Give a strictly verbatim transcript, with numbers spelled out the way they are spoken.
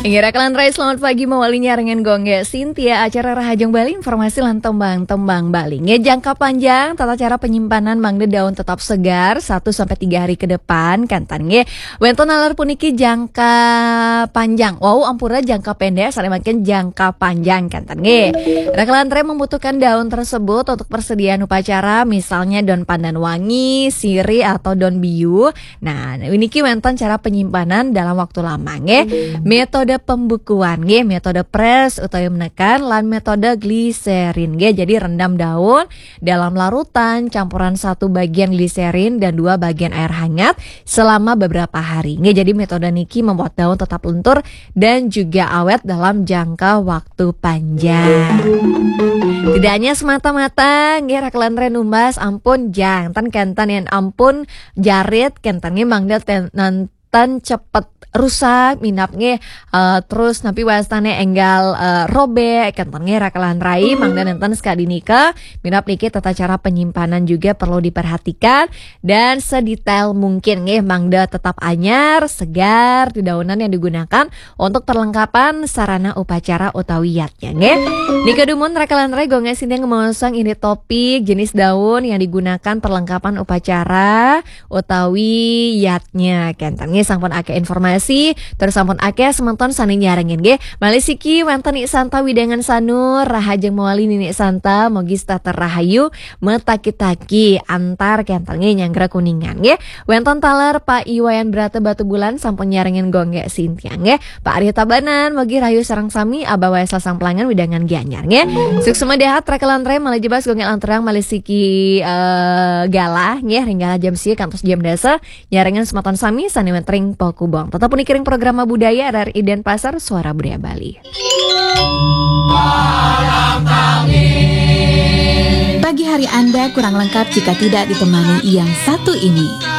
Ngira kalantaran, selamat pagi, mawali nyarengan Gung Gé Sintia, acara Rahajeng Bali, informasi lan tembang-tembang Bali. Nggih, jangka panjang, tata cara penyimpanan mangda daun tetap segar satu sampai tiga hari ke depan, kénten nggih. Wénten nalar puniki jangka panjang. Wau ampura jangka pendek, sané mangkin jangka panjang, kénten nggih. Raka lan Ré membutuhkan daun tersebut untuk persediaan upacara, misalnya daun pandan wangi, sirih atau daun biu. Nah, niki wénten cara penyimpanan dalam waktu lama nggih. Metode pembukuan nggih, metode press utawi menekan lan metode gliserin nggih. Jadi rendam daun dalam larutan, campuran satu bagian gliserin dan dua bagian air hangat selama beberapa hari nggih. Jadi metode niki membuat daun tetap lentur dan juga awet dalam jangka waktu panjang. Tidak hanya semata-mata nggih, raka lan Ré numbas ampun janten, kénten yén ampun jarit, kénten nggih mangda ten-, nanten cepet rusak, minab nggih, eh, terus napi wastané énggal, eh, robek, kénten nggih raka lan Ré, mangda nénten sakadi nika, minab niki tata cara penyimpanan juga perlu diperhatikan dan sedetail mungkin nggih, mangda tetap anyar, segar, dedaunan yang digunakan untuk perlengkapan sarana upacara utawi yadnya nggih. Nika dumun raka lan Ré, Gung Gé Sintia ngemaosang indik topik jenis daun yang digunakan perlengkapan upacara utawi yadnya, kénten nggih. Sampun akéh informasi, terus sampun akéh semeton sané nyarengin nggih. Malih siki wénten Nik Santa widangan Sanur, rahajeng mawali Nik Santa, mogi setata rahayu, metaki-taki antar, kénten nggih, nyanggra Kuningan nggih. Wénten taler Pak Iwayan Brata Batubulan sampun nyarengin Gung Gé Sintia nggih. Pak Arya Tabanan, mogi rahayu sareng sami, Abah Waisal Samplangan widangan Gianyar nggih. Suksma dahat raka lan Ré, malih jebas Gung Gé Lanturang, malih siki, eh, galah nggih, ring galah jam sia kantos jam dasa, nyarengin semeton sami sané wénten ring Pakubong. Tetep puniki ring Programa Budaya R R I Denpasar, Suara Budaya Bali. Pagi hari Anda kurang lengkap jika tidak ditemani yang satu ini.